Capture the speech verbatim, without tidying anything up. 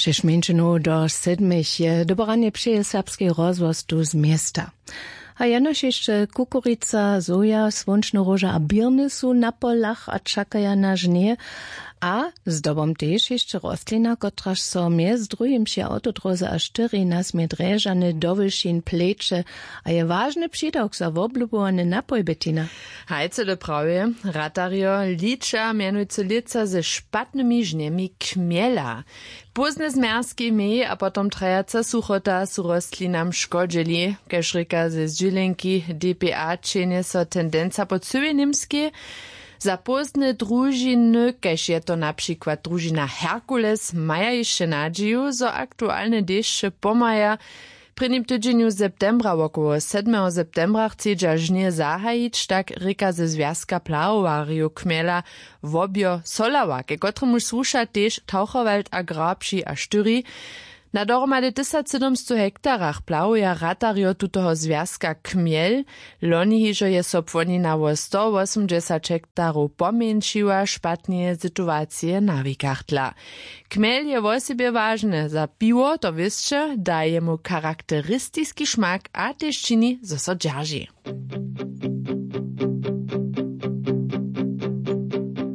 Šeść mjeńšinow do sedmich je doboranje přeje serbskej rozhłos tu z města. A jenož hišće kukurica, soja, słónčny róža a běrny su na polach a čakaja na žnje. A zdobom tež hišće rostlina, kotraž so mjez druhim při awtodróze a štyri na směr drježany do wyšin pleće a je wažny přidawk za woblubowane napojbetina. Hajce do prawje, ratarjo liča mjenujcy lětsa ze špatnymi žnjemi kmjela. Pózne zmjerzki mej a potom trajaca suchota su rostlinam škodźeli, kaž rěka ze zdźělenki dpa čenje so tendenca po cyłej němskej. Za pózne družiny, kaž je to na přikład družina herkules, maja hišće nadźiju zo aktualne dešće pomaja. W prěnim tydźenju septembra wokoło sedmeho septembra chcedźa žnje zahajić, tak rěka ze zwjazka plahowarjow kmjela wobjo solała, ke kotremuž słuša tež taucherwald a grabši a štyri. Na dohromady tysacsydomstow hektarach plahuja ratarjo tutoho zwjazka kmjel. Loni hižo je so płonina wo stowosomdźesać hektarow pomjeńšiła, špatneje situacije na wikach dla. Kmjel je wosebje wažny za piwo, to wěsće da jemu charakteristiski šmak a tež čini zo so dźerži.